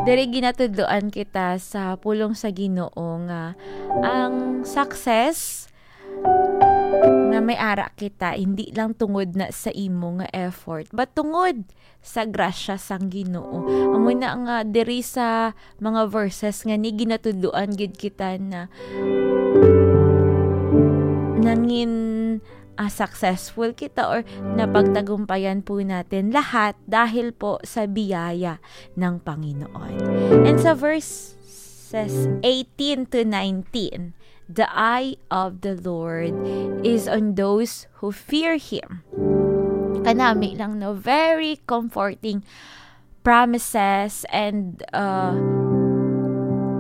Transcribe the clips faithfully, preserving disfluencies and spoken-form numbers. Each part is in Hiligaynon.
Diri ginatudloan kita sa pulong sa Ginoo nga ang success nga may ara kita, hindi lang tungod na sa imo nga effort, but tungod sa grasya sang Ginoo. Amo na nga diri sa mga verses nga ni ginatudloan gid kita na nangin, ah, successful kita or napagtagumpayan po natin lahat dahil po sa biyaya ng Panginoon. And sa verses eighteen to nineteen, "The eye of the Lord is on those who fear Him." Kanami lang, no? Very comforting promises and, uh,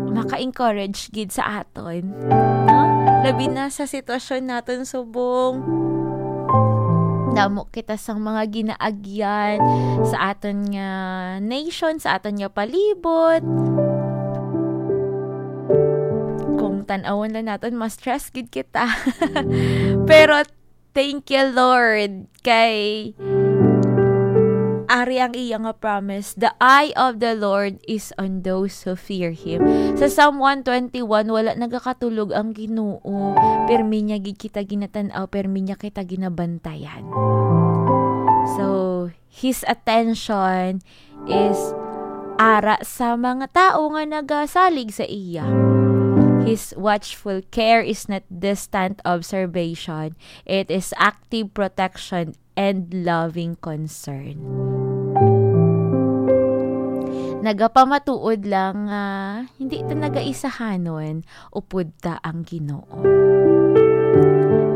maka-encourage gid sa aton, no? Labi na sa sitwasyon naton subong. Damo kita sang mga ginaagyan sa aton nga nation, sa aton nga palibot. Kung tan-awon lang naton, ma-stress gid kita. Pero thank you, Lord, kay ari ang iya nga promise, "The eye of the Lord is on those who fear Him." Sa Psalm one twenty-one, wala nagakatulog ang Ginoo. Permi niya gid kita ginatan-aw, permi niya kita ginabantayan. So, His attention is ara sa mga tawo nga nagasalig sa iya. His watchful care is not distant observation. It is active protection and loving concern. Nagapamatuod lang nga hindi ta nagaisahanon, upod ta ang Ginoo.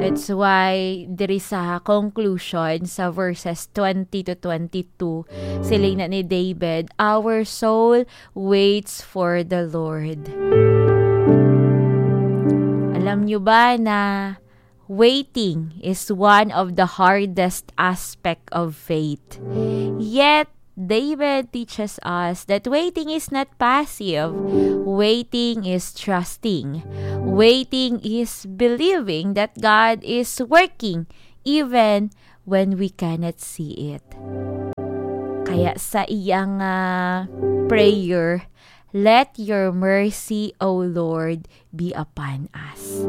That's why diri sa conclusion sa verses twenty to twenty-two, siling na ni David, "Our soul waits for the Lord." Alam nyo ba na waiting is one of the hardest aspect of faith? Yet, David teaches us that waiting is not passive. Waiting is trusting. Waiting is believing that God is working even when we cannot see it. Kaya sa iyang, ah, prayer, "Let your mercy, O Lord, be upon us."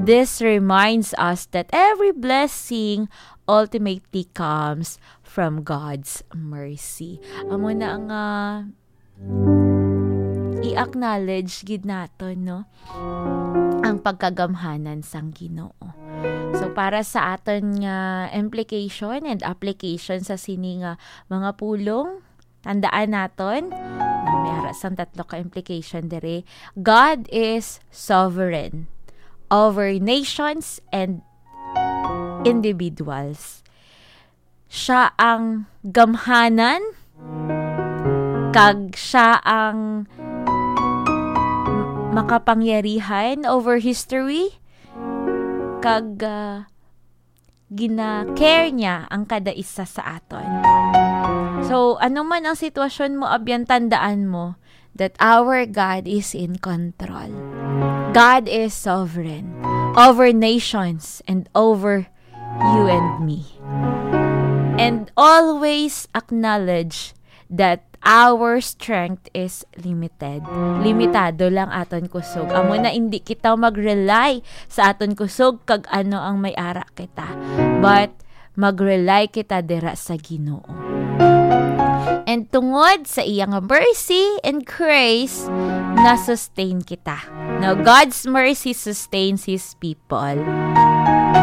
This reminds us that every blessing ultimately comes from God's mercy. Amo na nga i-acknowledge gid naton, no, ang pagkagamhanan sang Ginoo. So, para sa aton nga implication and application sa sini nga mga pulong, tandaan naton, may ara sang tatlo ka implication diri. God is sovereign over nations and individuals. Siya ang gamhanan, kag siya ang makapangyarihan over history, kag, ah, gina-care niya ang kada isa sa aton. So, ano man ang sitwasyon mo, abyan, tandaan mo that our God is in control. God is sovereign over nations and over you and me. And always acknowledge that our strength is limited. Limitado lang aton kusog. Amo na, hindi kita mag-rely sa aton kusog kag ano ang may ara kita. But mag-rely kita dira sa Ginoo. And tungod sa iya nga mercy and grace, na-sustain kita. Now, God's mercy sustains His people.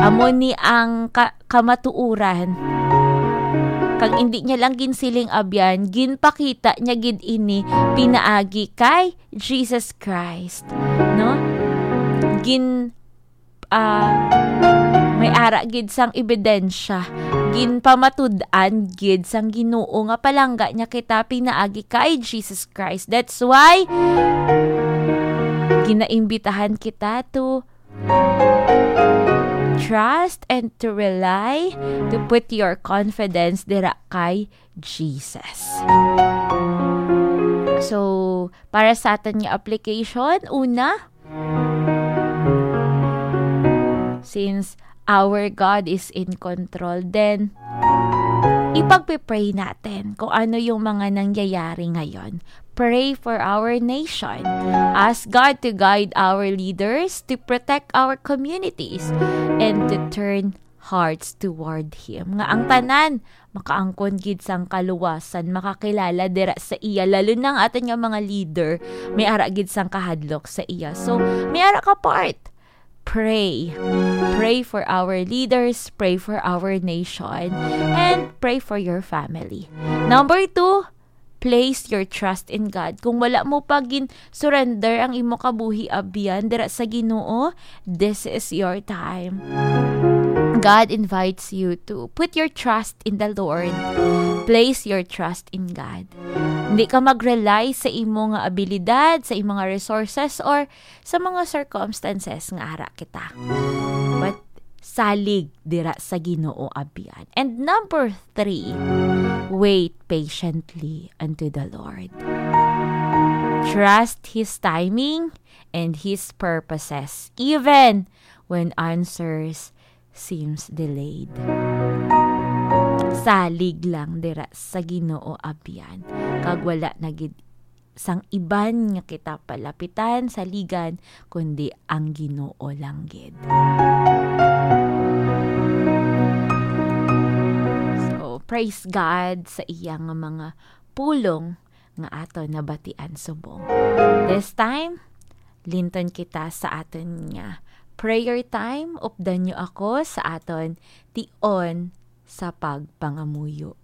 Amo ni ang ka-, kamatuoran. Kag hindi niya lang ginsiling abyan, ginpakita niya gid ini pinaagi kay Jesus Christ, no? Gin-, ah, may ara gid sang ebidensya, ginpamatud-an gid sang Ginoo nga palangga niya kita pinaagi kay Jesus Christ. That's why ginaimbitahan kita to trust and to rely, to put your confidence dira kay Jesus. So, para sa aton nga application, una, since our God is in control, then ipagpe-pray natin kung ano yung mga nangyayari ngayon. pray for our nation. Ask God to guide our leaders, to protect our communities, and to turn hearts toward Him. Nga ang tanan makaangkon gid sang kaluwasan, makakilala dira sa iya, lalo na ang aton nga mga leader, may ara gid sang kahadlok sa iya. So, may ara ka part. Pray. Pray for our leaders, pray for our nation, and pray for your family. Number two, place your trust in God. Kung wala mo pa gin-surrender ang imo kabuhi, abyan, dira sa Ginoo, this is your time. God invites you to put your trust in the Lord. Place your trust in God. Hindi ka mag-rely sa imo nga abilidad, sa imo nga resources, or sa mga circumstances nga ara kita. But salig dira sa Ginoo, abyan. And number three, wait patiently unto the Lord. Trust His timing and His purposes, even when answers seems delayed. Salig lang dira sa Ginoo, abyan, kag wala na gid sang iban nga kita palapitan, saligan, kundi ang Ginoo lang gid. So, praise God sa iya nga mga pulong nga aton nabatian subong. This time, linton kita sa aton nga prayer time. Updan niyo ako sa aton tion sa pagpangamuyo.